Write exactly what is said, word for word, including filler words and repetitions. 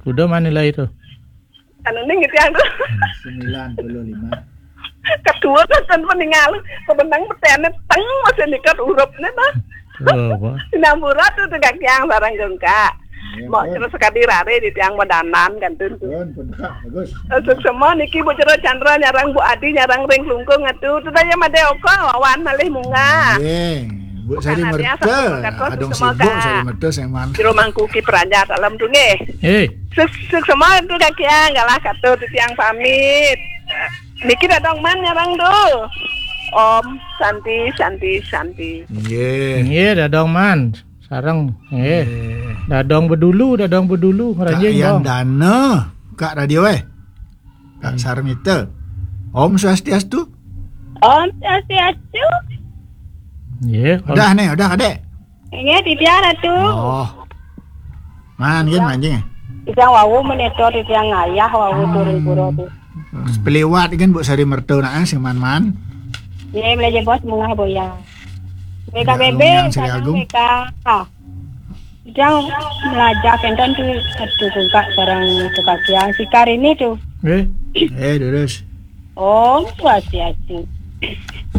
Udah mana nilai itu? Anu ning gitu yang tuh. Sembilan puluh lima. Kedua kan kan meninggal. Kebenang petene teng masih nikat urepne mah. Oh, apa? Sinampura tuh tuh Kak Kiang sareng Jongka. Mau terus sekali rare di tiang modanan kan tuh. Pun pun kak bagus. Suksema niki Bu Jero Chandra nyarang Bu Adi nyarang ring klungkung atuh. Tuh tanya Made Oko wawan malih munggah. Ye, Bu Sari Karena dia Merta. satu berkat kau Adong semua, sibuk Kak. Sari Merta seman. Jero Mangkuki Praja Salam Tunggih. Hei, Suk suksema tuh Kak Kiang galah katuh tuh tiang pamit. Niki dadong man nyarang tuh. Om Santi Santi Santi. Ye. Iya, dadong man. Sareng. Eh, Ye. Dadong bedulu, dadong bedulu. Kak Ranjing Yan dong. Dana, Kak Radio eh. Kak Sarmita. Om Swastiastu. Om Swastiastu. Iya. Udah nih, udah kadek. Ini di tiara tuh. Oh. Man kan mancing. Bisa wau menetor di tiang ayah wau turun pura tuh. Pelewat kan Bu Sari Merta nak eh, sing man-man. Ini belajar bos mengah boya. Mereka Ya, bebe, lumayan, Sri kadang Agung. mereka. Ah. Yang belajar kenten tuh satu kungkak barang tukar tiang sikar ini tuh. Eh, Eh, terus. Om Swastiastu.